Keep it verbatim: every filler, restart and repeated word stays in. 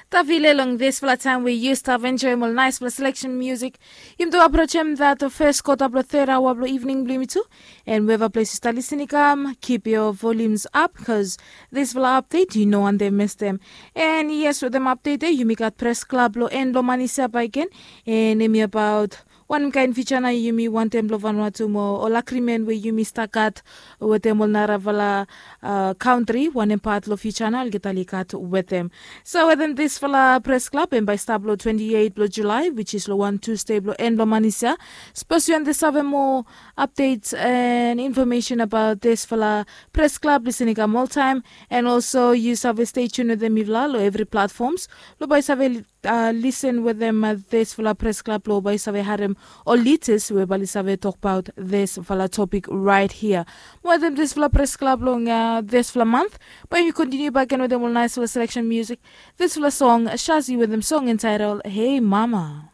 Tavile long disfala taim we yu stap enjoim ol naispela selection music. Yumi tu aprochim dat fes kota blong third aoa blong evening blong yumi tu. And weva ples yu stap lisin i kam, keep your volumes up, cause disfala update yu no wantem mestem. And yes, wetem update e yumi gat press club long en blong manisia baken. And em i abaut wanem kain future na yumi wantem blong Vanuatu mo ol agreement we yumi stap gat wetem ol narafala uh, country, wanem pat long future na olgeta oli gat wetem. So wetem disfala press club em bai stap long twenty-eight blong July, which is long one Tuesday blong en blong manisia. Suppose you want to have more updates and information about disfala press club, listening kam all time, and also you save stay tuned with them mivla long every platforms. Lo bai save uh, listen with them uh, disfala press club lo bai save harem ol leaders we bali save talk about disfala topic right here. Mo wetem disfala press club long uh, disfala month, bai yumi continue back again with them all nice fala selection music. Disfala song Shazi with them song entitled Hey Mama.